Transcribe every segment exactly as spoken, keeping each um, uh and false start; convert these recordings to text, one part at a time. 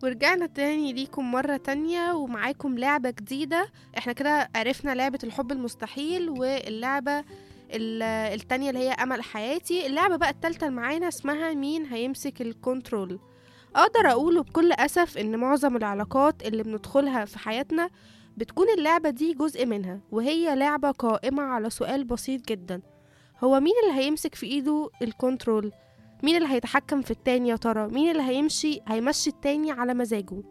ورجعنا تاني ليكم مرة تانية ومعاكم لعبة جديدة. احنا كده عرفنا لعبة الحب المستحيل، واللعبة ال- التانية اللي هي أمل حياتي. اللعبة بقى التالتة اللي معانا اسمها مين هيمسك الكنترول. أقدر أقوله بكل أسف إن معظم العلاقات اللي بندخلها في حياتنا بتكون اللعبة دي جزء منها، وهي لعبة قائمة على سؤال بسيط جدا: هو مين اللي هيمسك في إيده الكنترول؟ مين اللي هيتحكم في التاني يا ترى؟ مين اللي هيمشي هيمشي التاني على مزاجه؟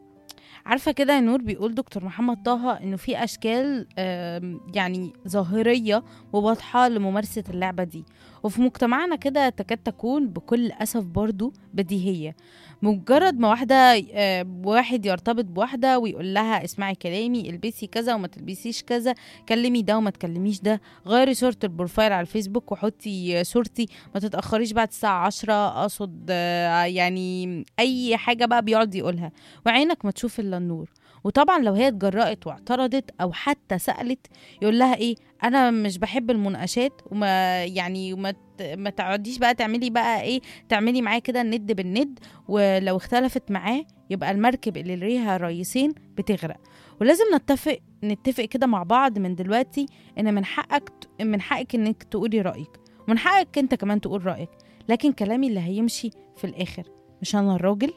عارفة كده يا نور، بيقول دكتور محمد طه إنه في أشكال آم، يعني ظاهرية وواضحة لممارسة اللعبة دي، وفي مجتمعنا كده تكاد تكون بكل أسف برضو بديهية. مجرد ما واحدة آه، واحد يرتبط بواحدة ويقول لها اسمعي كلامي، البسي كذا وما تلبسيش كذا، كلمي ده وما تكلميش ده، غيري صورة البروفايل على الفيسبوك وحطي آه، صورتي، ما تتأخريش بعد الساعة عشرة، أقصد آه، يعني أي حاجة بقى بيقعد يقولها، وعينك ما تشوف الا النور. وطبعا لو هي اتجرأت واعترضت او حتى سألت، يقول لها ايه؟ انا مش بحب المناقشات، وما يعني وما ت- ما تقعديش بقى تعملي بقى ايه، تعملي معاه كده الند بالند، ولو اختلفت معاه يبقى المركب اللي ليها رئيسين بتغرق. ولازم نتفق نتفق كده مع بعض من دلوقتي ان من حقك ت- من حقك انك تقولي رأيك، ومن حقك انت كمان تقول رأيك، لكن كلامي اللي هيمشي في الاخر، مش انا الراجل.